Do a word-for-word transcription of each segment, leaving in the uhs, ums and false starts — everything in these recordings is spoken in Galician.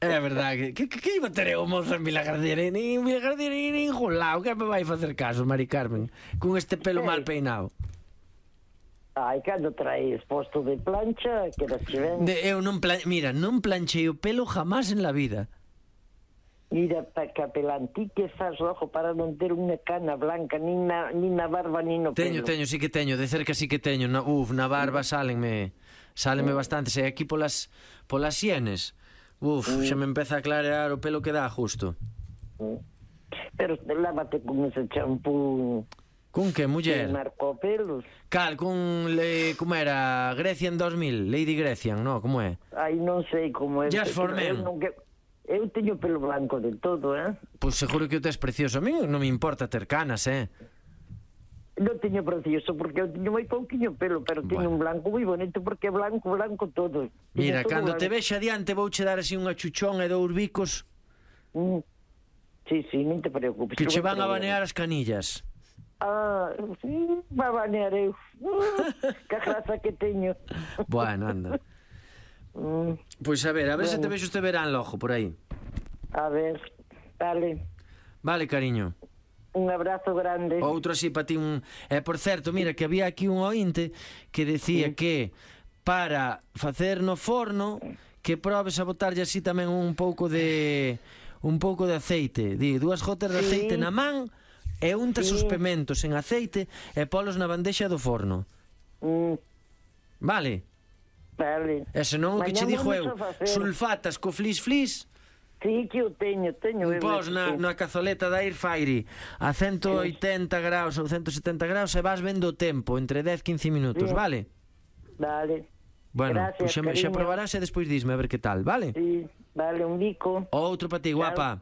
É verdade, que, que, que iba a ter o mozo en Vilagarcía? Nin en Vilagarcía nin en ningún lado. Que me vai facer caso, Mari Carmen? Con este pelo mal peinado. Ai, cando traes posto de plancha, que das che ven. De, eu non plan... Mira, non planchei o pelo jamás en la vida. Mira, pa capelantí que faz ojo para non ter unha cana blanca, nin na, nin na barba, nin no Teño, pelo. teño, sí que teño, de cerca sí que teño. Na, uf, na barba sálenme, sálenme bastante. E aquí polas, polas sienes, uf, Mm. xa me empeza a clarear o pelo que dá justo. Pero lávate con ese champú Con que, que muller? marcou pelos. Cal, con, le, como era, Grecian dos mil, Lady Grecian, no, como é? Ai, non sei como é. Just for Eu men. non que- Eu teño pelo blanco de todo, eh? Pois seguro que o tes precioso. A mí non me importa ter canas, eh? Non teño precioso porque eu teño moi pouquiño pelo, pero teño Bueno. un blanco moi bonito porque é blanco, blanco todo. Teño Mira, todo cando te blanco. vexe adiante vouche dar así unha chuchón e dous bicos Mm. Sí, sí, non te preocupes. que non che hai van a problema. banear as canillas. Ah, sí, va a banear eu. Uh, que graza que teño. Bueno, anda. Mm, Pois a ver, a ver se te Bueno. vexo este verán logo por aí. a ver, dale. Vale, cariño. Un abrazo grande. Outro así para ti un... E por certo, mira, que había aquí un ointe que decía Sí. que para facer no forno que probes a botarlle así tamén un pouco de un pouco de aceite, di, dúas gotas de Sí. aceite na man e untas Sí. os pementos en aceite e polos na bandexa do forno. Mm, Vale? vale. E senón o que Mañá che dixo vamos eu, a facer. sulfatas co flis flis, Sí, que eu teño, teño. eu pos na, sí. na cazoleta da air fryer a ciento oitenta graus ou ciento setenta graus e vas vendo o tempo entre dez a quince minutos, Sí. vale? Vale. Bueno, Gracias, pois xa, me- xa cariño. probarás e despois disme a ver que tal, vale? Sí, vale, un bico. Outro para ti, Chao. guapa.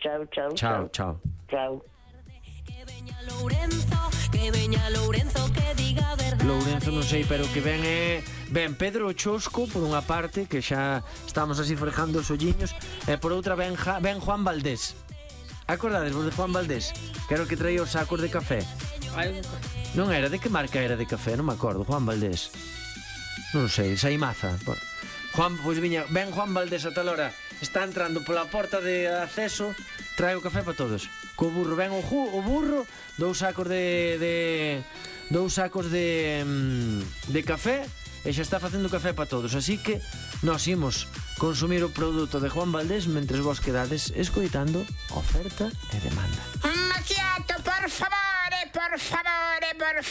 Chao, chao. Chao, chao. Chao. Que veña Lourenzo, que veña Lourenzo, que diga a verdade. Lourenzo non sei, pero que ven é... Ben Pedro Chosco, por unha parte, que xa estamos así frejando os olliños, e por outra ben, ja, ben Juan Valdés. Acordades vos de Juan Valdés? Que era o que traía os sacos de café. Non era, de que marca era de café? Non me acordo, Juan Valdés. Non sei, Saimaza. Juan, pois viña, ben Juan Valdés a tal hora, está entrando pola porta de acceso, trae o café para todos. Co burro, ven o, ju, o burro, dous sacos de, de dous sacos de mm, de café e xa está facendo café para todos, así que nós imos consumir o produto de Juan Valdés mentres vos quedades escoitando oferta e demanda. Un macchiato, por favore, por favore, por